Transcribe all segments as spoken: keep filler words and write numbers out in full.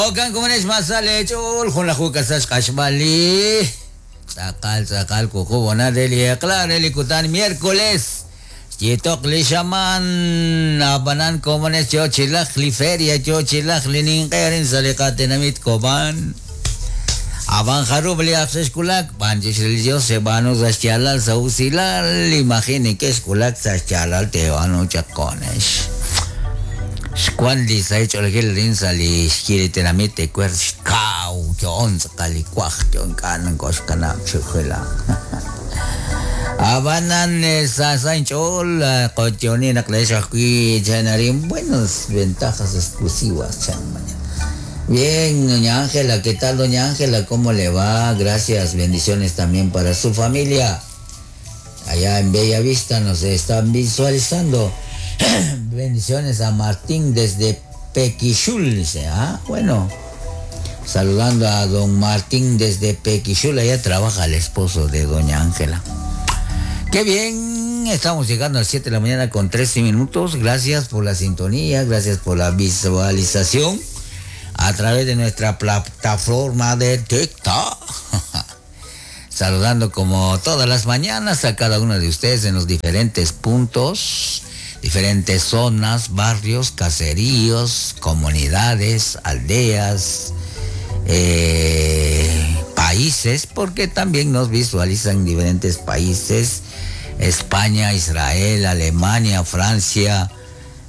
Jo'kan komonex masal ch'ool junlaju kasax q'axb'al li tz'aqal tz'aqal wuqub' honal re li eq'la re li kutan miércoles xyitoq li xamaan ab'anan komonex yo chilaj li feria yo chilaj li ninq'e sa' li qatenamit Cobán. Ab'an jarub' li aj xe'xkulak b'an chix li Dios xeb'aanu sa' xyaalal sa' usilal imagine ke xkulak sa' xyaalal teb'aanu chaq konex. Xwan li sa' ch'oolejil rin sa' li xyi li tenamit ecuer xkaw yo'on tz'aqal li kuaj yo'on k'a' koxkanab' chujela. Ab'anan sa' sa' inch'ool qotyoni naq leex ajwi' chanarin buenas ventajas exclusivas chan mañana. Bien, doña Ángela, ¿qué tal, doña Ángela? ¿Cómo le va? Gracias, bendiciones también para su familia. Allá en Bella Vista nos están visualizando. Bendiciones a Martín desde Pequixul, dice. Ah, bueno. Saludando a don Martín desde Pequixul, allá trabaja el esposo de doña Ángela. Qué bien, estamos llegando a las siete de la mañana con trece minutos. Gracias por la sintonía, gracias por la visualización a través de nuestra plataforma de TikTok. Saludando como todas las mañanas a cada uno de ustedes en los diferentes puntos, diferentes zonas, barrios, caseríos, comunidades, aldeas, eh, países, porque también nos visualizan en diferentes países: España, Israel, Alemania, Francia,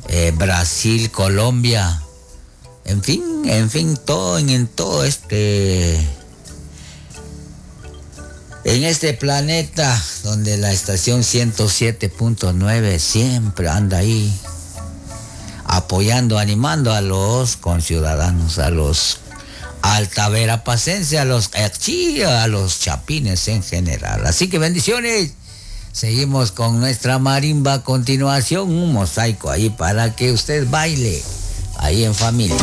eh, Brasil, Colombia. En fin, en fin, todo en, en todo este, en este planeta donde la estación ciento siete punto nueve siempre anda ahí apoyando, animando a los conciudadanos, a los altaverapacenses, a los erchi, a los chapines en general. Así que bendiciones. Seguimos con nuestra marimba a continuación, un mosaico ahí para que usted baile ahí en familia.